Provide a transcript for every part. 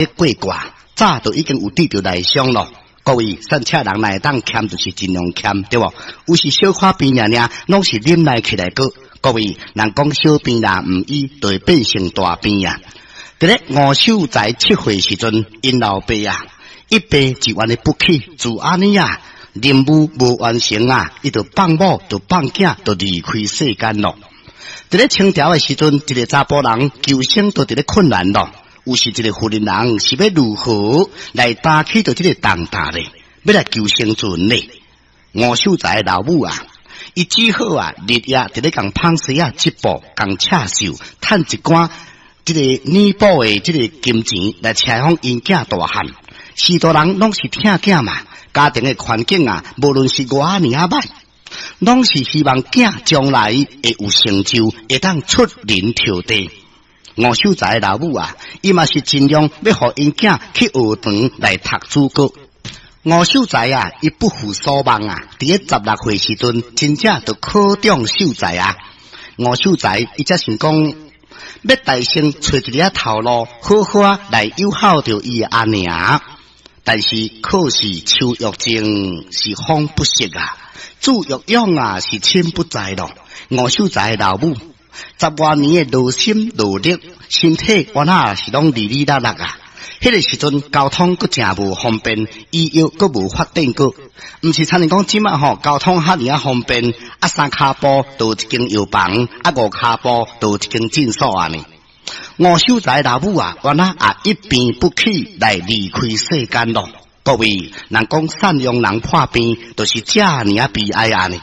咧過卦，早就已經有得著內傷咯。各位，散赤人若會當儉，就是盡量儉，對無？有時小可病爾爾，攏是忍耐起來過。各位，人講小病若毋醫，就會變成大病啊！佇咧吳秀才7歲時陣，𪜶老爸啊，一病就按呢不起，就按呢啊，任務無完成啊，伊就放某，就放囝，就離開世間咯。佇咧清朝的時陣，一個查埔人求生都佇咧困難咯。有時一個婦人人是欲如何來擔起著這個重擔咧？欲來求生存咧？吳秀才的老母啊，伊只好啊，日夜佇咧共紡紗仔織布，共刺繡，趁一寡這個彌補的這個金錢來車予𪜶囝大漢。序大人攏是疼囝嘛，家庭的環境啊，無論是偌爾仔歹，攏是希望囝將來會有成就，會當出人頭地。吳秀才的老母啊，伊嘛是盡量欲予𪜶囝去學堂來讀書閣。吳秀才啊，伊不負所望啊，佇咧16歲時陣，真正就考中秀才啊。吳秀才伊才想講，欲大聲揣一个頭路，好好啊來友好著伊的阿娘。但是可是樹欲靜是風不息啊，子欲養啊是親不在咯。吳秀才的老母十外年的勞心勞力，身體原來是攏離離落落啊。彼個時陣交通閣誠無方便，醫藥閣無發展過，毋是親像講這馬吼，交通遐爾仔方便，啊三跤步就有一間藥房，啊五跤步就有一間診所按呢。吳秀才老母啊，原來也一病不起來離開世間咯。各位，人講贍養人破病，就是遮爾仔悲哀按呢。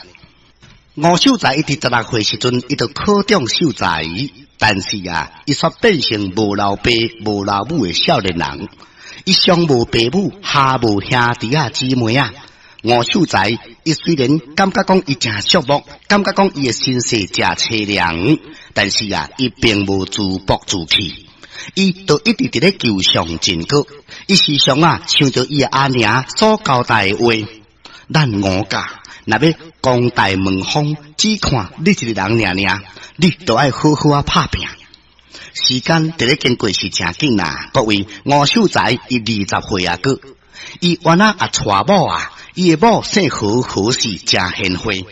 吳秀才伊佇16歲時陣，伊就考中秀才，但是啊，伊煞變成無老爸、無老母的少年人。伊上無爸母，下無兄弟仔姊妹啊。吳秀才，伊雖然感覺講伊誠寂寞，感覺講伊的身世誠淒涼，但是啊，伊並無自暴自棄，伊就一直佇咧求上進閣。伊時常啊想著伊的阿娘所交代的話，咱吳家若欲光大門風，只看你一個人爾爾，你都愛好好仔拍拚。時間佇咧經過是誠緊啦，各位，吳秀才伊20歲啊，閣伊原來也娶某啊。伊的某姓何，何氏誠賢惠。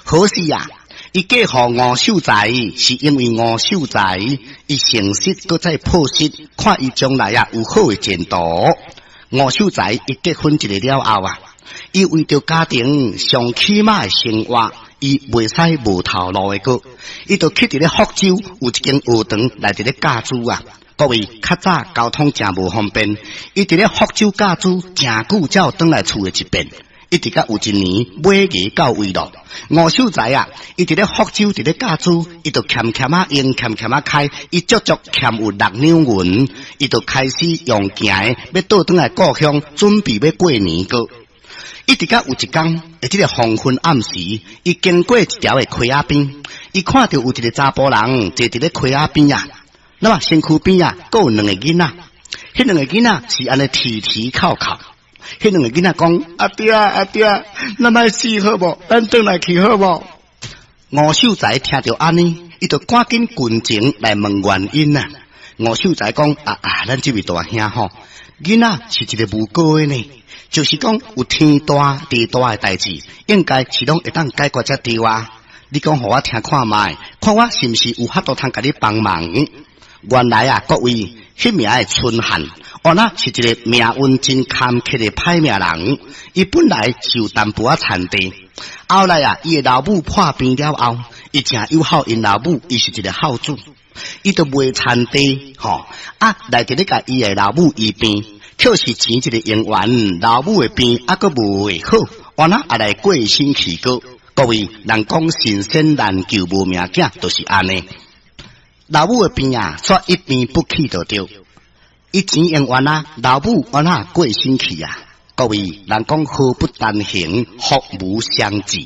何氏啊，伊嫁予吳秀才，是因為吳秀才伊誠實，閣再樸實，看伊將來啊有好的前途。吳秀才伊結婚一个了後啊，伊為著家庭上起碼的生活，伊袂使無頭路的閣，伊就去佇咧福州有一間學堂來佇咧教書啊。各位，較早交通誠無方便，伊佇咧福州教書，誠久才有轉來厝的一遍。一直到有一年尾牙到位咯，吳秀才啊，伊佇咧福州佇咧教書，伊就儉儉仔用，儉儉仔開，伊足足儉有6兩銀，伊就開始用行的，欲倒轉來故鄉，準備欲過年閣。一直到有一工，佇這個黃昏暗時，伊經過一條的溪仔邊，伊看著有一個查埔人坐佇咧溪仔邊啊，那麼身軀邊啊，閣有兩个囡仔，彼兩個囡仔是按呢啼啼哭哭。彼兩個囡仔講：阿爹阿爹，咱莫死好無？咱轉來去好無？吳秀才聽著按呢，伊就趕緊近前來問原因啊。吳秀才講：啊啊，咱這位大兄吼，囡仔是一個無辜的呢，就是講有天大地大的代誌，應該是攏會當解決才對啊。你講予我聽看覓，看我是毋是有法度通共你幫忙？原來啊，各位，彼名的春漢，原來是一個命運真坎坷的歹命人。伊本來是有淡薄仔田地，後來啊，伊的老母破病了後，伊誠友好𪜶老母，伊是一個孝子，伊就賣田地，吼啊，來佇咧共伊的老母醫病，卻是錢一個用完，老母的病猶閣無會好，原來也來過身去閣。各位，人講神仙難救無命囝，就是按呢。老母的病啊，煞一病不起就對。伊錢用完啊，老母按怎過身去啊？各位，人講禍不單行，福無雙至。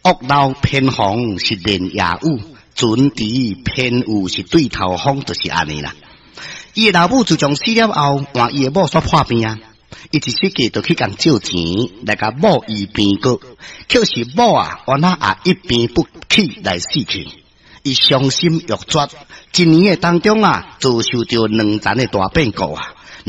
屋漏偏逢是連夜雨，船遲偏遇是對頭風，就是按呢啦。伊的老母自從死了後，換伊的某煞破病啊，伊一時間就去共借錢來共某醫病閣，卻是某啊，原來也一病不起來死去。伊傷心欲絕，一年的當中啊，遭受著兩層的大變故啊！